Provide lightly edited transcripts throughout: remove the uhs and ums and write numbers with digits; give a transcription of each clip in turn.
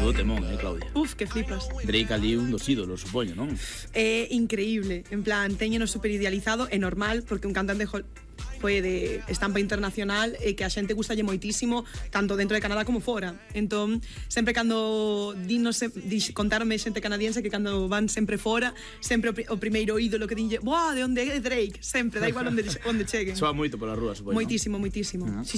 Menudo temón, Claudia? Uf, que flipas. Drake ali un dos ídolos, supoño, non? É increíble, en plan, téñeno super idealizado, é normal, porque un cantante foi de estampa internacional e que a xente gustalle moitísimo, tanto dentro de Canadá como fora. Entón, sempre cando contarme xente canadiense que cando van sempre fora, sempre o primeiro ídolo que dinlle, "Buah, de onde é Drake?", sempre, da igual onde cheguen. Soa moito pola rúa, supoño. Moitísimo. Sí.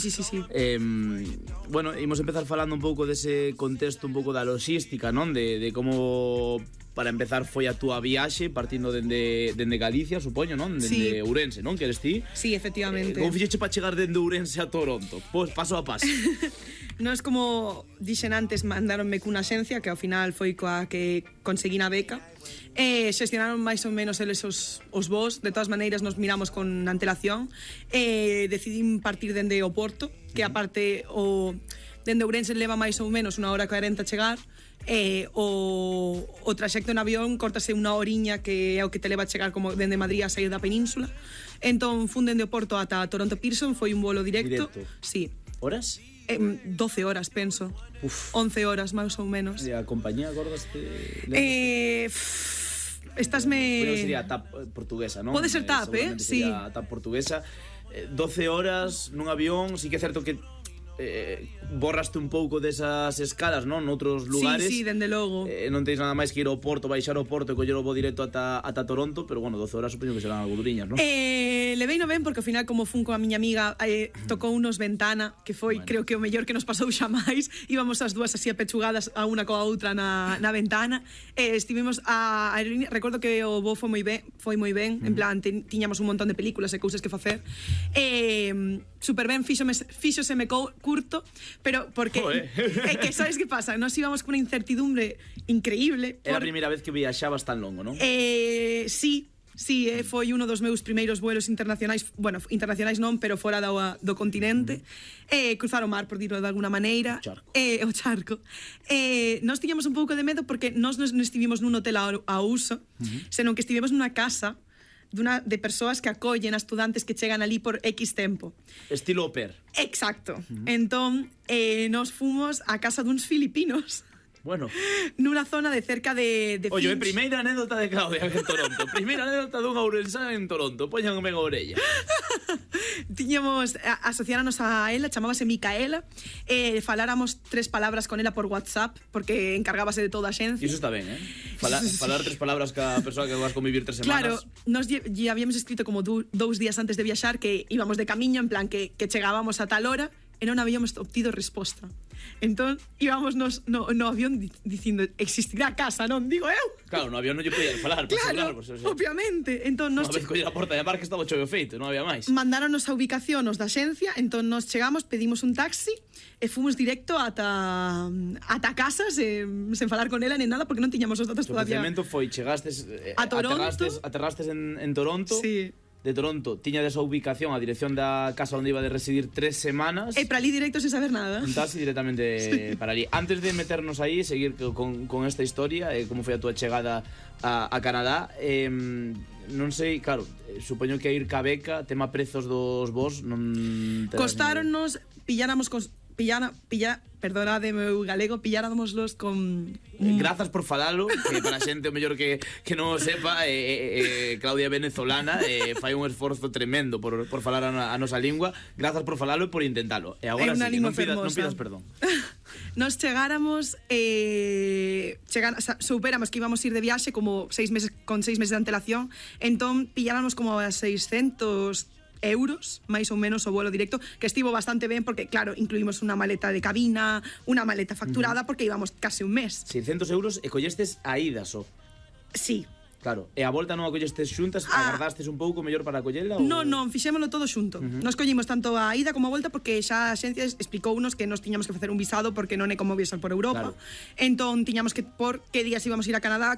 Bueno, imos empezar falando un pouco dese contexto, un pouco da logística, non? De como, para empezar, foi a túa viaxe partindo dende Galicia, supoño, non? Dende Ourense, non? Que eres ti? Sí, efectivamente. Como fixeche para chegar dende Ourense a Toronto? Pois paso a paso. Nos, como dixen antes, mandaronme cunha axencia que ao final foi coa que conseguín a beca. Xestionaron máis ou menos eles os voos. De todas maneiras nos miramos con antelación. Decidín partir dende o Porto, que aparte dende Ourense leva máis ou menos 1 hora e 40 a chegar. O traxecto en avión cortase 1 horiña, que é o que te leva a chegar como dende Madrid a sair da península. Entón fun dende o Porto ata Toronto Pearson, foi un volo directo. Sí. Horas? 12 horas, penso. Uf. 11 horas, máis ou menos. E a compañía, acordaste? Estásme... Bueno, sería TAP portuguesa, non? Pode ser TAP, Sí. Sí. TAP portuguesa. 12 horas nun avión, sí que é certo que borraste un pouco desas escalas, non? Noutros lugares. Sí, dende logo. Non tens nada máis que ir ao Porto, baixar ao Porto e coller o voo directo ata Toronto, pero bueno, 12 horas supoño que serán algo duriñas, non? Levei no ben porque ao final, como fun coa miña amiga, tocou unos Ventana, que foi, creo que o mellor que nos pasou xa máis. Íbamos as dúas así apechugadas a unha coa outra na ventana. Estivemos a aerolínea, recordo que o voo foi moi ben, en plan, tiñamos un montón de películas e cousas que facer. Super ben, fíxoseme curto, pero porque é que sabes que pasa, nos íbamos con unha incertidumbre increíble. Era a primeira vez que viaxabas tan longo, non? Sí, foi uno dos meus primeiros vuelos internacionais, bueno, internacionais non, pero fora do continente. Cruzar o mar, por dilo de alguna maneira. O charco. Nós tiñamos un pouco de medo porque nós non estivimos nun hotel a uso, senón que estivemos nunha casa de persoas que acollen a estudantes que chegan ali por X tempo. Estilo au pair. Exacto. Entón, nos fomos a casa duns filipinos. Bueno. Nunha zona de cerca de Oye, Finch. primeira anécdota de Claudia en Toronto. Primeira anécdota dunha ourensana en Toronto. Póñanme a orella. Tiñamos, asociáranos a ela, chamábase Micaela. Faláramos 3 palabras con ela por WhatsApp, porque encargábase de toda a xencia. Iso está ben, Falar 3 palabras ca persoa que vas convivir 3 semanas. Claro, nos lle habíamos escrito como 2 días antes de viaxar que íbamos de camiño, en plan que chegábamos a tal hora e non habíamos obtido resposta. Entón, íbamos no avión dicindo, existirá casa, non? Digo eu. Claro, no avión non lle podían falar. Claro, obviamente. Entón, Unha vez coller a porta de mar que estaba choveo feito, non había máis. Mandáronos a ubicación os da xencia, entón nos chegamos, pedimos un taxi e fomos directo ata casa sen falar con ela nen nada, porque non tiñamos os datos todavía. O procedimento foi, chegastes a Toronto. Aterrastes en Toronto. Sí. De Toronto, tiña desa ubicación a dirección da casa onde iba de residir 3 semanas. E para ali directo sen saber nada. Un taxi directamente para ali. Antes de meternos aí, seguir con esta historia, como foi a túa chegada a Canadá, non sei, claro, supoño que a ir ca beca, tema prezos dos vos, non... Costaronnos, perdonade meu galego, pilláramos con... Grazas por falalo, que para a xente o mellor que non o sepa, Claudia é venezolana, fai un esforzo tremendo por falar a nosa lingua. Grazas por falalo e por intentalo. E agora sí, non pidas perdón. Nos chegáramos, superamos que íbamos a ir de viaxe como 6 meses de antelación, entón pilláramos como a 600 euros, máis ou menos, o vuelo directo, que estivo bastante ben porque, claro, incluímos unha maleta de cabina, unha maleta facturada, porque íbamos case un mes. 600 euros e collestes a ida só. Sí. Claro, e a volta non a collestes xuntas, agardastes un pouco mellor para collela? Non, fixémolo todo xunto. Nos collimos tanto a ida como a volta porque xa a xencia explicounos que nos tiñamos que facer un visado porque non é como viaxar por Europa. Entón, tiñamos que por que días íbamos a ir a Canadá,